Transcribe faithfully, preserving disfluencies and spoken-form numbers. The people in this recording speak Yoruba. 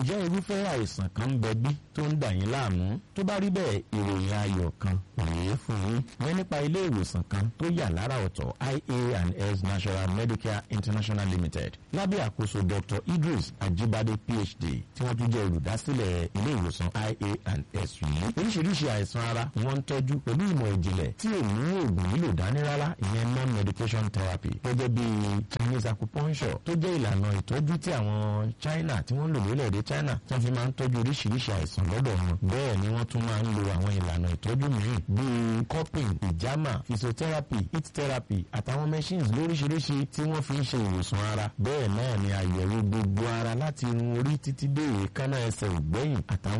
Ǹjẹ́ irúfẹ́ àìsàn kan ń bẹ bí tó ń dà yín láàmú? Tó bá rí bẹ́ẹ̀, ìròyìn ayọ̀ kan rèé fún yín. Wọ́n nípa ilé ìwòsàn kan tó yà lára ọ̀tọ̀, I A and S National Medicare International Limited, lábẹ́ àkóso Doctor Idris Ajibade P H D, tí wọ́n tún jẹ́ olùdásílẹ̀ ilé ìwòsàn I A and S yìí. Oríṣiríṣi àìsàn ara wọ́n ń tọ́jú pẹ̀lú ìmọ̀ ìjìnlẹ̀ tí ò mú oògùn lílò dání rárá, ìyẹn non-medication therapy, gẹ́gẹ́ bí Chinese acupuncture, tó jẹ́ ìlànà ìtọ́jú tí àwọn China tí wọ́n ń lò lórílẹ̀‐èdè China, tí wọ́n fi máa ń tọ́jú oríṣiríṣi àìsàn lọ́dọ̀ wọn. Bẹ́ẹ̀ ni wọ́n tún máa ń lo àwọn ìlànà ìtọ́jú mìíràn bíi cupping, ìjàmà, physiotherapy, heat therapy àtàwọn machines lóríṣiríṣi tí wọ́n fi ń ṣe ìwòsàn ara. Bẹ́ẹ̀ náà ni àyẹ̀wò gbogbo ara láti irun orí títí dé èékánná ẹsẹ̀ ògbẹ́yìn àtàwọn